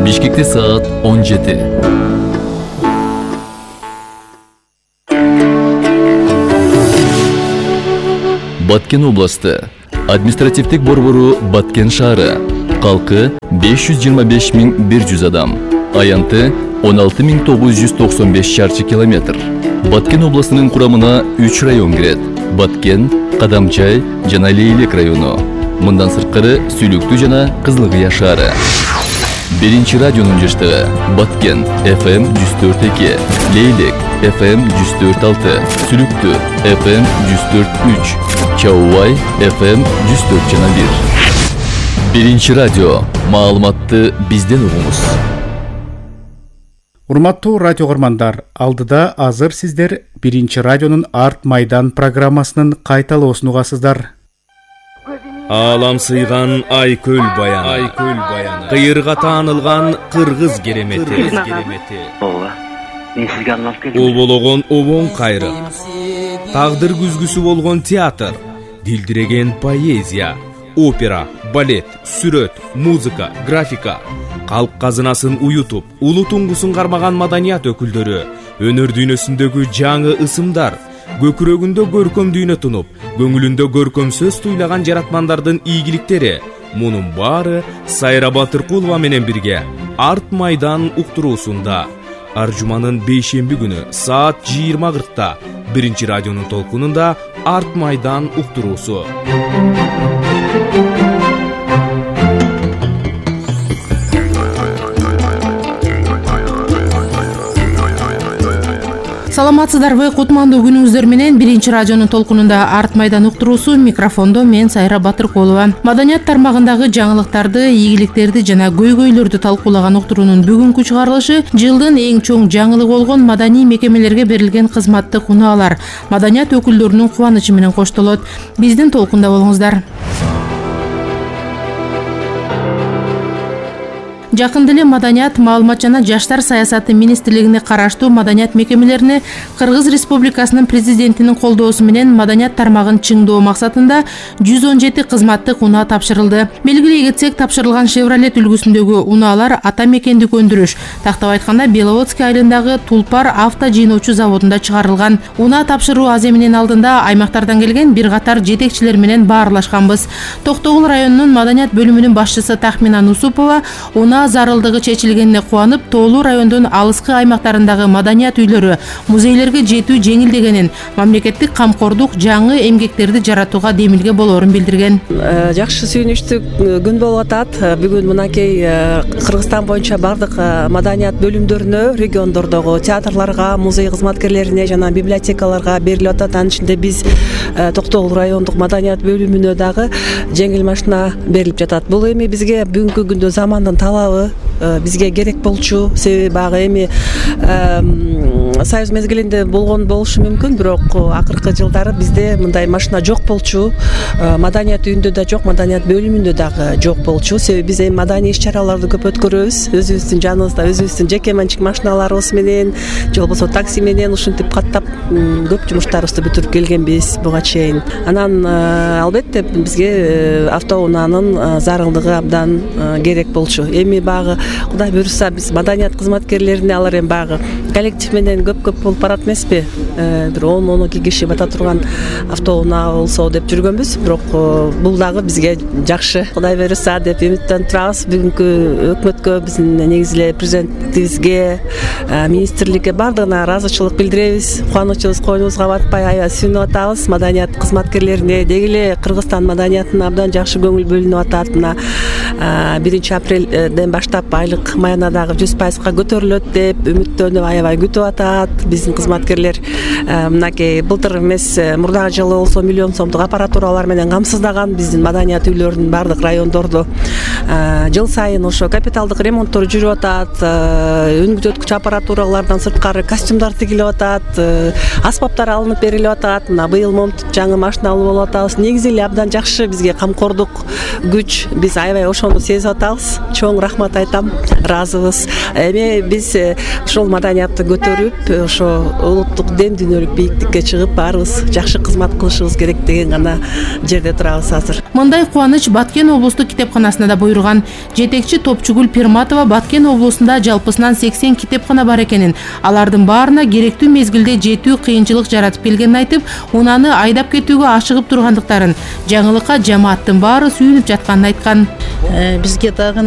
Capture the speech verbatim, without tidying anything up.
Бишкекте саат он жети. Баткен областы. Административдик борбору Баткен шаары. Калкы беш жүз жыйырма беш миң бир жүз адам. Аянты он алты миң тогуз жүз токсон беш чарчы километр. Баткен областынын курамына үч район кирет. Баткен, Кадамчай жана Лейлек району. Мындан сырткары Сүлүктүү жана Кызылкыя шаары. Биринчи радионун жаштыгы Баткен эф эм жүз төрт эки, Лейлек эф эм жүз төрт алты, Сүлүктүү эф эм жүз төрт үч, Чаубай эф эм жүз төрт жана бир. Биринчи радио. Маалыматты бизден угуңуз. Урматтуу радио көрмандар, алдыда азыр сиздер Биринчи радионун Арт Майдан программасынын кайталоосун угасыздар. Алам сыйган Айкөл баяны, Айкөл баяны, кыйырга таанылган кыргыз керемети, Ооба, мен сизге арналып келдим. Обологон обоң кайры, тагдыр күзгүсү болгон театр, дилдиреген поэзия, опера, балет, сүрөт, музыка, графика, калк казынасын уютуп, улуу туңгусун кармаган маданият өкүлдөрү, өнөр дүйнөсүндөгү жаңы ысымдар, көкүрөгүндө көркөм дүйнө тунуп, көңүлүндө көркөм сөз туйлаган жаратмандардын ийгиликтери. Мунун баары Сайра Батыркулова менен бирге Арт Майдан уктуруусунда. Аржуманын бейшемби күнү саат жыйырма кыркта Биринчи радионун толкунунда Арт Майдан уктуруусу. Саламатсыздарбы, кутмандуу күнүңүздөр менен Биринчи радионун толкунунда Арт Майдан уктуруусу, микрофондо мен Сайра Батыркулова. Маданият тармагындагы жаңылыктарды, ийгиликтерди жана көйгөйлөрдү талкуулаган уктуруунун бүгүнкү чыгарылышы жылдын эң чоң жаңылыгы болгон маданий мекемелерге берилген кызматтык унаалар, маданият өкүлдөрүнүн кубанычы менен коштолот. Биздин толкунда болуңуздар. Жакында эле Маданият, маалымат жана жаштар саясаты министрлигине караштуу маданият мекемелерине Кыргыз Республикасынын президентинин колдоосу менен маданият тармагын чыңдоо максатында жүз он жети кызматтык унаа тапшырылды. Белгилей кетсек, тапшырылган Chevrolet үлгүсүндөгү унаалар ата мекендик өндүрүш, тактап айтканда Беловодский айылындагы Тулпар авто жыйноочу заводунда чыгарылган. Унаа тапшыруу аземинин алдында аймактардан келген бир катар жетекчилер менен баарлашканбыз. Токтогул районунун маданият бөлүмүнүн башчысы Тахмина Нусупова унаа зарылдыгы чечилгенине кубанып, Тоолуу райондун алыскы аймактарындагы маданият үйлөрү, музейлерге жетүү жеңилдегенин, мамлекеттик камкордук жаңы эмгектерди жаратууга демилге болоорун билдирген. Жакшы сүйүнүчтүү күн болуп атат. Бүгүн мынакей Кыргызстан боюнча бардык маданият бөлүмдөрүнө, региондордогу театрларга, музей кызматкерлерине жана библиотекаларга берилип атат. Анын ичинде биз Токтогул райондук маданият бөлүмүнө дагы жеңил машина берилип жатат. Бул эми бизге бүгүнкү күндө замандын талабы, бизге керек болчу. Себеби баягы эми Союз мезгилинде болгон болушу мүмкүн, бирок акыркы жылдары бизде мындай машина жок болчу. Маданият үйүндө да жок, маданият бөлүмүндө дагы жок болчу. Себеби биз эми маданий иш-чараларды көп өткөрөбүз. Өзүбүздүн жаныбызда өзүбүздүн жеке менчик машиналарыбыз менен, же болбосо такси менен ушинтип каттап көп жумуштарыбызды бүтүрүп келгенбиз буга чейин. Анан албетте бизге автоунаанын зарылдыгы абдан керек болчу. Эми багы Кудай буйруса биз маданият кызматкерлерине алар эми багы коллектив менен көп-көп болуп барат эмеспи? Бир он он эки киши бата турган автоунаа болсо деп жүргөнбүз, бирок бул дагы бизге жакшы. Кудай буйруса деп үмүттөнүп турабыз. Бүгүнкү өкмөткө, биздин негизи эле президентибизге, министрликке бардыгына ыраазычылык билдиребиз. Кубанычыбыз койнубузга батпай аябай сүйүнүп атабыз. Маданият кызматкерлерине деги эле Кыргызстан маданиятына абдан жакшы көңүл бөлүнүп атат. Мына биринчи апрелден баштап айлык маяна дагы жүз пайызга көтөрүлөт деп үмүттөнүп аябай күтүп атат биздин кызматкерлер. Мынакей былтыр эмес, мурдагы жылы болсо миллион сомдук аппаратуралар менен камсыздаган биздин маданият үйлөрүнүн бардык райондордо. Жыл сайын ошо капиталдык ремонттор жүрүп атат. Үнгүзөткүч аппаратуралардан сырткары костюмдар тигилип атат, аспаптар алынып берилип атат. Мына быйыл момнтуп жаңы машина алып болуп атабыз. Негизи эле абдан жакшы бизге камкордук күч. Биз аябай ошону ошону сезип атабыз. Чоң рахмат айтам, ыраазыбыз. Эми биз ошол маданиятты көтөрүп, ошо улуттук дем дүйнөлүк бийиктикке чыгып, баарыбыз жакшы кызмат кылышыбыз керек деген гана жерде турабыз азыр. Мындай кубаныч Баткен облустук китепканасына да буйруган. Жетекчи Топчугүл Пирматова Баткен облусунда жалпысынан сексен китепкана бар экенин, алардын баарына керектүү мезгилде жетүү кыйынчылык жаратып келгенин айтып, унаны айдап кетүүгө ашыгып тургандыктарын, жаңылыкка жамааттын баары сүйүнүп жатканын айткан. Бизге дагы